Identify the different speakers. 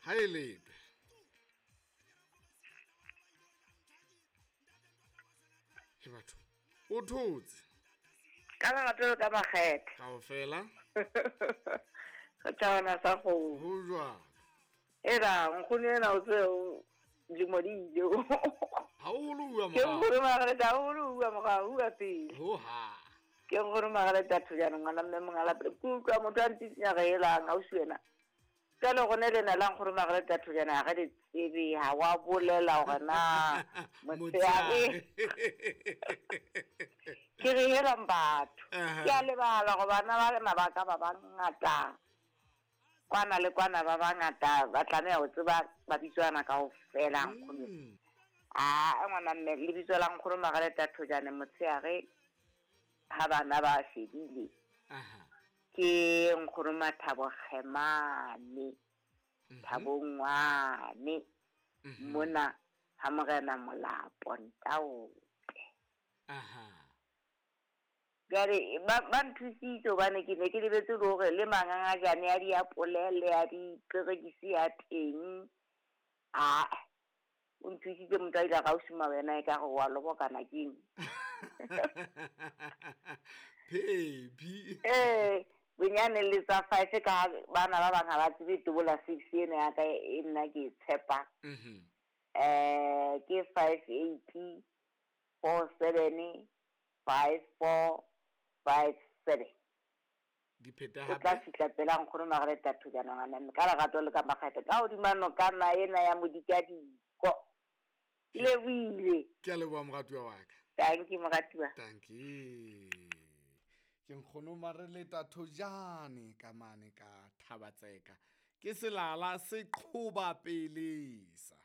Speaker 1: Ha e lepe. He batho. O thotse.
Speaker 2: Ka lerato le ka makgethe.
Speaker 1: Kaofela.
Speaker 2: Re thabana sa kgomo.
Speaker 1: Ho jwalo.
Speaker 2: Ela nkgono ena o tse dilemo di ile.
Speaker 1: Ha o holo uwa
Speaker 2: Ke
Speaker 1: morao.
Speaker 2: nkgono Margaret ha o holo uwa morao uwa pele.
Speaker 1: Ho ha.
Speaker 2: Ke nkgono Margaret a Thojane ngwana mme monga pele. Ke utlwa motho a ntsitsinya re elang ausi wena. Jwale rona lena la nkgono Margaret a Thojane ha re le tsebe ha wa bolela hore na motshehare. Ke re helang batho.
Speaker 1: Aha.
Speaker 2: Ke a lebala gore bana ba lena ba ka ba bangata. Kwana le kwana ba bangata ba tlameha ho tseba mabitso ana kaofela nkgono. A ngwana mme lebitso la nkgono Margaret a Thojane motshehare ha bana ba shebile.
Speaker 1: Aha.
Speaker 2: Ke nkgono Mathabo Kgemane. Thabo Ngwane. Mona ha morena Molapo Ntaope.
Speaker 1: Aha.
Speaker 2: Jwale ba nthusitse hobane ke ne ke lebetse le hore le mangangajane a diapole le a diperekisi a teng. Ah, o nthusitse motho a ile a gausima wena e ka re wa lobokana keng.
Speaker 1: Phepi.
Speaker 2: Eh, bonyane le tsa 5 ka bana ba bang ha ba tsebe tobola 6 ena ya ka e nna ke e tshepa. Ke 5 8 4 7 5 4 5 7.
Speaker 1: Di pheta
Speaker 2: O tla
Speaker 1: hape.
Speaker 2: fihla pela nkgono Margaret a Thojane ngwana mme ka lerato le ka makgethe ka hodima nokana ena ya modikadiko. Ke lebohile.
Speaker 1: Ke a leboha moratuwa wa ka.
Speaker 2: Thank you moratuwa.
Speaker 1: Thank you. Ke nkgono Mareleta Thojane ka mane ka Thabatseka. Ke selala se qhoba pelesa.